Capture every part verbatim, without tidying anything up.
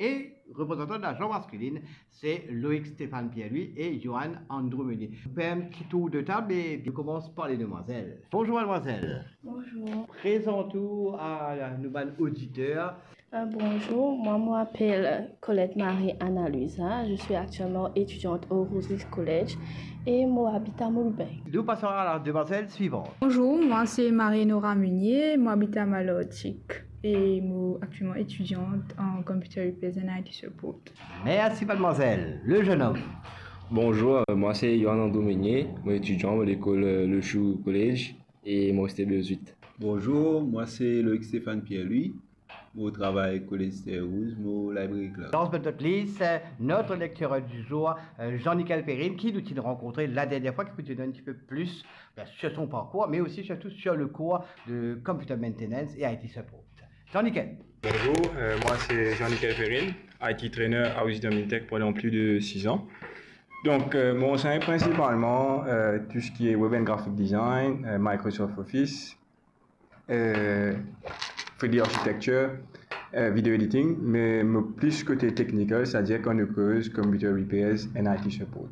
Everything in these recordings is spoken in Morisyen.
E reprezantan lajan maskilin, se Loïc Stéphane Pierre-Louis e Johan Andrew Meunier. Nou fer enn ti tour de tab e nou koumans par ledemwazel. Bonzour madmwazel. Bonzour. Prezant ou a nou bann oditer. Euh, bonjour, moi, moi m'appelle Colette Marie Anna Luisa. Je suis actuellement étudiante au Rosary College et moi habite à Moulbin. Nous passons à la demoiselle suivante. Bonjour, moi c'est Marie-Nora Meunier, moi habite à Malartic et moi actuellement étudiante en Computer Repairs and I T Support. Merci, mademoiselle. Le jeune homme. Bonjour, euh, moi c'est Yohan Ando Meunier, moi étudiant à l'école, euh, Le Chou College et moi c'était B S huit. Bonjour, moi c'est Loïc Stéphane Pierre-Louis, moi travay College Terre Rouge, moi library clerk. Last but not least, euh, notre lecteur du jour, euh, Jean-Nickel Perrine, ki nou ti rankontre la dernier fwa, ki pou donn un petit peu plus, ben, sur son parcours, mais aussi surtout sur le cours de Computer Maintenance et I T Support. Jean-Nickel. Bonjour, euh, moi c'est Jean-Nickel Perrine, I T trainer à Wisdom Intech pendant plus de six ans. Donc, euh, moi j'enseigne principalement, euh, tout ce qui est Web and Graphic Design, euh, Microsoft Office, euh, three D architecture, euh, video editing, mais, mais plus côté technical, c'est-à-dire kan nou koz computer repairs and I T support.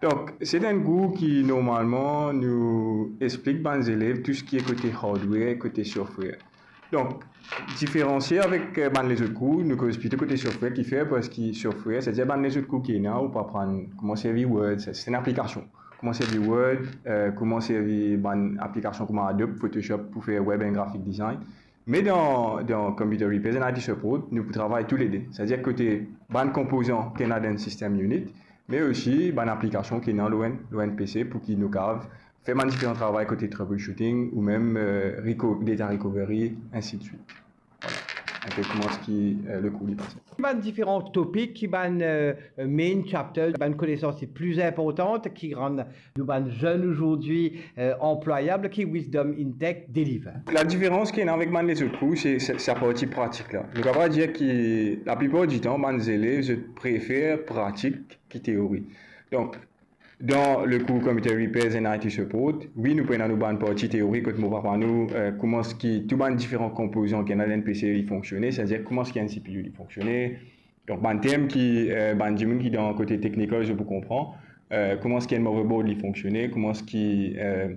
Donc, c'est un cours qui normalement nous explique bann zelev tout ce qui est côté hardware, côté software. Donk, diferansie avek, euh, bann lezot kour, nou koz plito kote software ki fer, parski software, setadir bann lezot kour ki ena, ou pou aprann kouma servi Word, se, se enn aplikasion. Kouma servi Word, euh, kouma servi bann aplikasion kouma Adobe, Photoshop pou fer web and graphic design. Me dan, dan Computer Repairs and I T Support, nou pou travay toulede. Setadir kote bann konpozan ki ena dan enn system unit, me osi bann aplikasion ki ena lor enn, lor enn P C pou ki nou kav fer bann diferan travay kote troubleshooting ou mem, euh, reco-, data recovery, ainsi de suite. Voilà. Enpe kouma ki, euh, le kour li pase. Ki bann diferan topik, ki bann, euh, main chapters, bann konesans ki pli inportan, ki rann nou bann zenn azordi, euh, anplwayab, ki Wisdom Intech deliver? La diferans ki ena avek bann lezot kour, se, se, se sa parti pratik la. Nou kapav dir ki laplipar ditan, bann zelev, zot prefer pratik ki teori. Donk, dan le kour Computer Repairs and I T Support, wi, nou pou ena nou bann parti teori kot mo pou aprann nou, euh, kouma ki tou bann diferan konpozan ki ena dan enn P C li fonksione, setadir kouma ki enn C P U li fonksione. Donk, bann term ki, euh, bann dimoun ki dan kote technical, zot pou konpran, euh, kouma ki enn motherboard li fonksione, kouma ki, euh,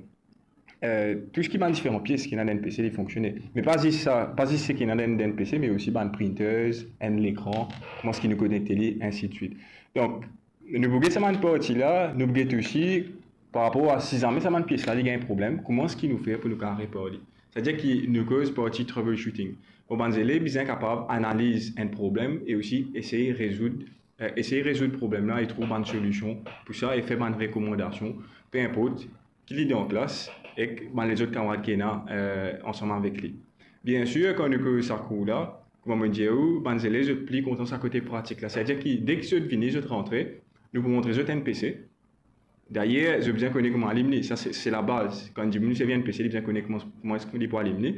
euh, tou seki bann diferan pies ki ena dan enn P C li fonksione. Me pa zis sa, pa zis seki ena dan, dan enn P C, me osi bann printers, enn lekran, kouma ki nou konekte li, ainsi de suite. Donk, nou pou get sa bann parti la, nou pou get osi, par rapor a si zame sa bann pies la, li gagn problem, kouma ki nou fer pou nou kapav repar li. Setadir ki nou koz parti troubleshooting. Bon, bann zelev bizin kapav analiz enn problem e osi esey rezoud, euh, esey rezoud problem la e trouv bann solision pou sa e fer bann rekomandasion, pe inport ki li dan klas ek bann lezot kamarad ki ena, euh, ansam avek li. Biensir, kan nou koz sa kour la, kouma mo dir ou, bann zelev zot pli kontan sa kote pratik la. Setadir ki deki zot vini, zot rantre, nou pou montre zot enn P C. Dayer, zot bizin kone kouma alim li, sa se, se labaz. Kan dimoun servi enn P C, li bizin kone kouma, kouma eski li pou alim li.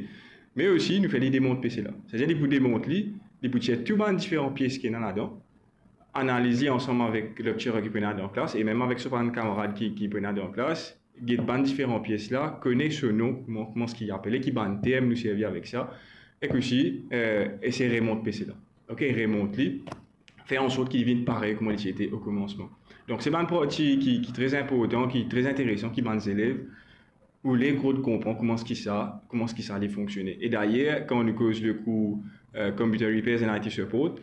Me osi, nou fer li demont P C la. Setadir li pou demont li, li pou tir tou bann diferan pies ki ena ladan, analiz li ansam avek lekterer ki pou ena dan klas, e mem avek so bann kamarad ki, ki pou ena dan klas, get bann diferan pies la, kone so nom, kouma, kouma ki apele, ki bann term nou servi avek sa, ek osi, euh, esey remont P C la. Ok, remont li, fer ansort ki li vinn parey kouma li ti ete o koumansman. Donk, se bann parti ki, ki tre inportan, ki tre interesan, ki bann zelev oule zot konpran kouma ki sa, kouma ki sa li fonksione. E dayer, kan nou koz le kour, euh, Computer Repairs and I T Support,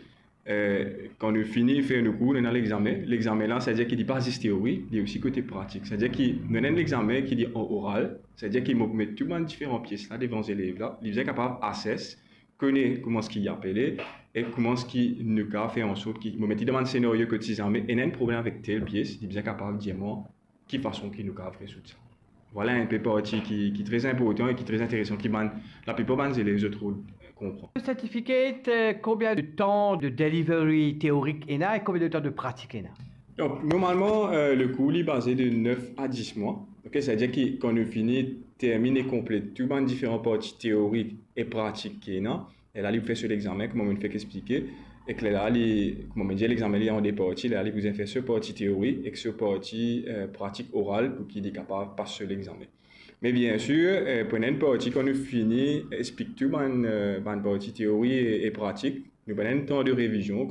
euh, kan nou fini fer nou kour, nou ena lexame. Lexame la, setadir ki li pa zis teori, li osi kote pratik. Setadir ki nou ena enn lexame ki li an oral, setadir ki mo pou met tou bann diferan pies la devan zelev la, li bizin kapav assess, kone kouma ki li apele e kouma ki nou kapav fer ansort ki, mo met li dan bann senario kot si zame ena enn problem avek tel pies, li bizin kapav dir mwa ki fason ki nou kapav rezoud sa. Vwala enn pe parti ki, ki tre inportan e ki tre interesan, ki bann, laplipar bann zelev zot rod konpran. Le certificate, euh, combien de temps de delivery théorique ena et combien de temps de pratique ena? Donk, normalman, euh, le kour li baze de nef a dis mwa. Ok, setadir ki kan nou fini termine konplet tou bann diferan parti teorik e pratik ki ena, e la li pou fer so lexame, kouma mo fek explike, ek lerla li, kouma mo dir, lexame li an de parti, lerla li pou fer so parti teori ek so parti, euh, pratik oral pou ki li kapav pas so lexame. Me biensir, euh, pou ena enn parti, kan nou fini explik tou bann, euh, bann parti teori e, e pratik, nou pou ena enn tan de revizion,